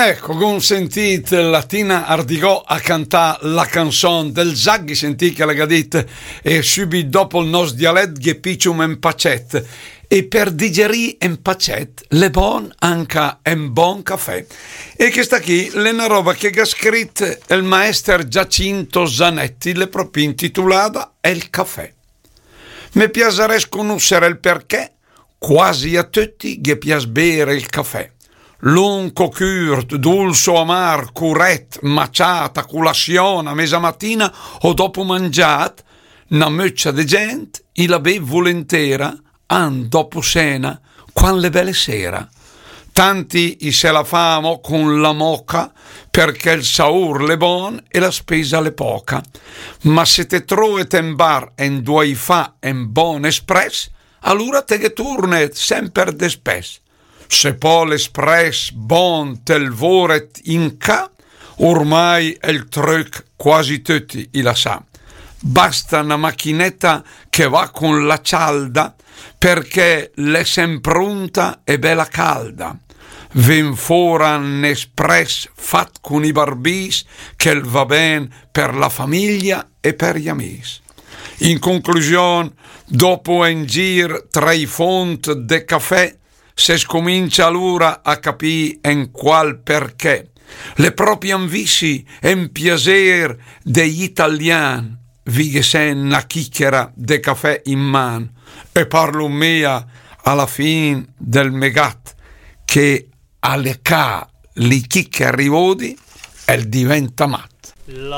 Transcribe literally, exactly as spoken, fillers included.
Ecco, gh'om sentìt la Tina Ardigò a cantà la canzon del Zaghi, sentì che la gh'ha dit: e sübit dopo el nòs dialet ghe piccium en pacet. E per digerì en pacet l'è bon anca en bon cafè. E chesta chì l'è na roba che gh'ha scrit el maester Giacinto Zanetti, l'è propi intitulada El cafè. Me piasares conusser el perché quasi a tötti ghe pias bere el cafè. Lunc o cürt, duls o amar, curet, maciat, a culasion, a mesamatina o dopo mangiat, na möcia de gent i la bev vulentera, an dopo sena, quan l'è bele sera. Tanti i se la fa amò con la moca, perché el saur l'è bon e la spesa l'è poca. Ma se te troet en bar endua i fa en bon espress, alura te ghe turnet semper despess. Se po l'espress bon te'l voret in ca, ormai el tröch quasi tötti i la sa. Basta na machineta che va con la cialda, perché l'è semprunta e bela calda. Ven fora n'espress fat con i barbis, che el va ben per la famiglia e per i amis. In conclusion, dopo en gir tra i font de cafè, se scomincia alura a capì en qual perché. L'è propi en visi, en piaser de italian, vighe sen na chichera de cafè in man. E parlo mia a la fin del me gat, che a le ca li chicheri vodi, el diventa mat.